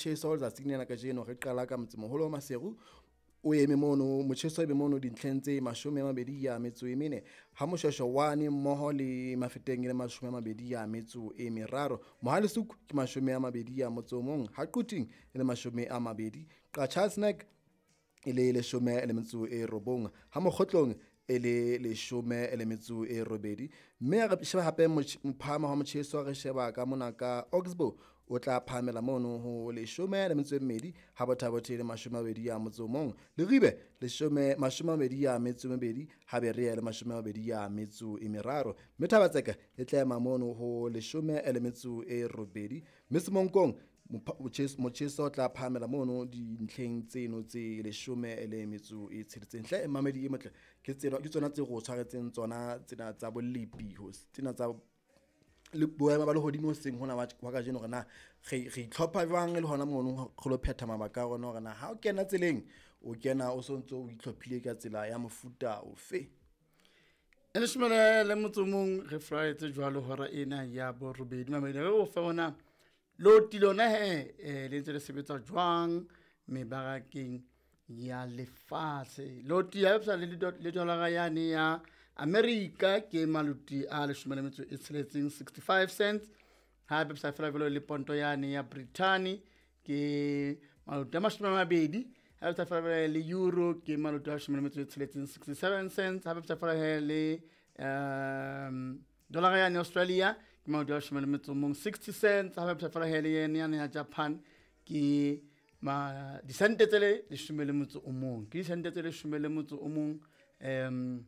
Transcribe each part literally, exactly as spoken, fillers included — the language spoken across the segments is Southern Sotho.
Motjheso letsatsing lena kajeno re qala ka motsemoholo wa Maseru o eme mono, motjheso o eme mono dintlheng tse mashome a mabedi a metso e mene, ha Moshweshwe one mmoho le Mafeteng e le mashome a mabedi a metso e meraro, Mohale's Hoek ke mashome a mabedi a motso o mong, ha Quthing e le mashome a mabedi, Qacha's Nek e le leshome le metso e robong, ha Mokgotlong e le leshome le metso e robedi. Mme re sheba hape mophahamo wa motjheso, re sheba ka mona ka Oxbow o tla phahamela mono ho leshome le metso e mmedi, ha Botha-Bothe le mashome a mabedi a motso o mong, Leribe leshome mashome a mabedi a metso e mebedi, ha Berea le mashome a mabedi a metso e meraro. Mme Thaba-Tseka e tla ema mono ho leshome le metso e robedi, mme Semonkong motjheso o tla phahamela mono dintlheng tseno tse leshome le metso e tsheletseng. Hle mamedi e motle, ke tsena ke tsona tse re o tshwaretseng tsona tsena tsa bolepi, tsena tsa le boemo ba lehodimo hoseng hona wa kajeno, hore na re re itlhopha jwang le hona mono re lo phetha mabaka a rona, hore na ha o kena tseleng o kena o sontso o itlhophile ka tsela ya mofuta ofe. E leshome le motso o mong re furaetse jwalo hora ena ya borobedi mamedi re o fe ona loti lona he eh, le ntse le sebetsa jwang mebarakeng ya lefatshe. Loti ya le le dolara yane ya America ke maloti a leshome le metso e tsheletseng sixty-five cents, ha bapisa fela jwalo le ponto yane ya Britain ke maloti a mashome a mabedi, ha bapisa fela jwalo le euro ke maloti a leshome le metso e tsheletseng sixty-seven cents, ha bapisa fela le um dollar yane Australia ke maloti a leshome le metso o mong sixty cents, ha bapisa fela le yene yane ya Japan ke ma disente tse le leshome le motso o mong, ke disente tse leshome le motso o mong um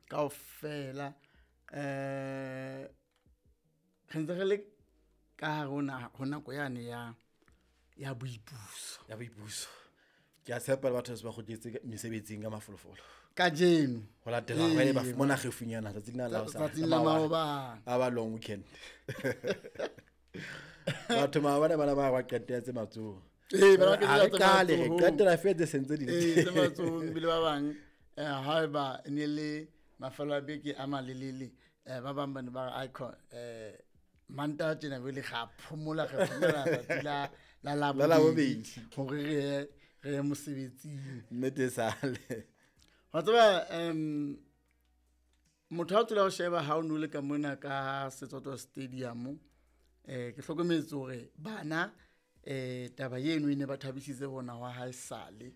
kaofela. Eh re ntse re le ka hare ho nako yane ya ya boipuso, ya boipuso. Ke a tshepa le batho ba kgutletse mesebetsing ka mafolofolo kajeno ho latela ba ile ba fumana kgefunyana tsatsing la la tsatsing la maobane a ba long weekend. Batho maobane bana ba ba qetetse matsoho. Ee, ba qetetse matsoho. Re qetela fetse sentse di. Ee, tse matsohong bile ba bang eh haeba ne le mafelo a beke a malelele eh ba bang ba ne ba re icon eh manta tjena be le ga phomola re phomola tsatsi la la la labobedi hore re re mosebetsing nnete sale. Wa tseba um motho ha tsela ho sheba ha o no le ka mona ka Setsoto Stadium eh ke hlokometse hore bana eh taba eno e ne ba thabisitse bona wa ha sale.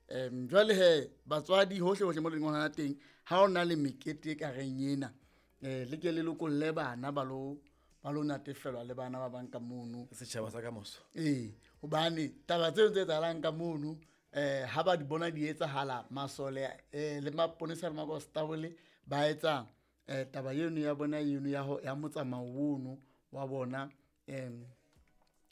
Um jwale he batswadi hohle hohle mo leng hona teng ha o na le mekete ka reng ena eh le ke le lokolle bana ba lo ba lo natefelwa le bana ba bang ka mono setjhaba sa ka moso. Ee, hobane taba tseo tse etsahalang ka mono eh ha ba di bona di etsahala masole eh le maponesa le makonstabole ba etsa eh taba eno ya bona eno ya ya motsamao ono wa bona em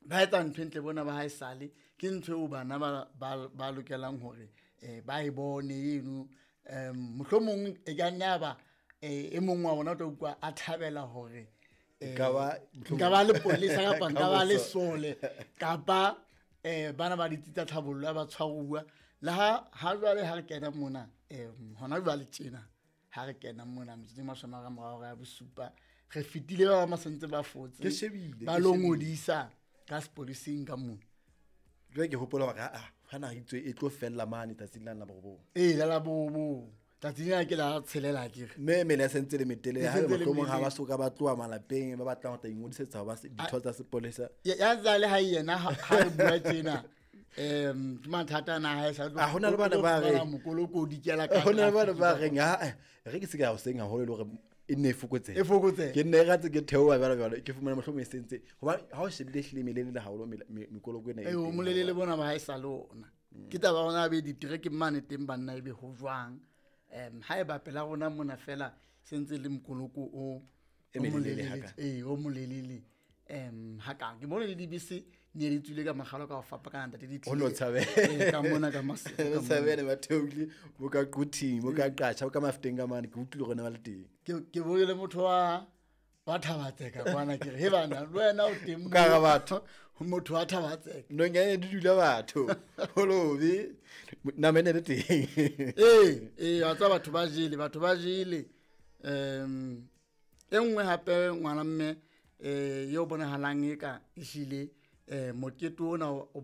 ba etsa ntho ntle bona ba ha esale ke ntho eo bana ba ba lokelang hore eh ba e bone eno em mohlomong e ka nna ba e mong wa bona o tla utlwa a thabela hore nka ba nka ba le polisa kapa nka ba le sole kapa eh bana ba ditsi tsa tlhabollo ba tshwaruwa le ha ha jwale ha re kena mona eh hona jwale tjena ha re kena mona metsotso e mashome a mararo ya bosupa re fetile ba ba sentse ba fotse ke shebile ba lo ngodisa ka sepolising ka mona. Jwale ke hopola hore a ha na itswe e tlo fella mane tsatsing la la borobong. Ee, la la borobong tsatsing la ke la tshelela ke re mme mele ya sentse le metele ha mohlomong ha ba soka ba tloha malapeng ba batlang ho tla ingodisetsa ho ba ditho tsa sepolesa ya tsale ha yena ha re bua tjena em ke mathata na ha e sa a hona le bana ba re mokolokodi ke la ka hona le bana ba reng ha re ke se ka hoseng haholo le hore e nne e fokotsehe e fokotsehe ke nne e ratse ke theoha jwalo jwalo ke fumana mohlomong e sentse hoba ha o shebile hlile melele haholo mekoloko ena e o molelele bona ba ha e sa lona ke taba ona be ditereke mane teng banna ebe ho jwang em ha e ba pela rona mona fela sentse le mokoloko o e melelele haka ee o molelele em haka ke bone le dibese ne di tswile ka magalo ka ho fapana ntate di o no tshabe ka mona ka o tshabele ba theohile bo ka Quthing bo ka Qacha bo ka Mafeteng ka mane ke utlwile hore ne ba le teng ke ke bone le motho wa wa Thabatseka kwana ke re he bana le wena o teng ka ga batho motho wa Thabatseka nonyane di dula batho holobe nama ene le teng ee ee wa tseba batho ba jele batho ba jele em e nngwe hape ngwana mme eh yo bonahalang e ka ehlile eh mokete ona o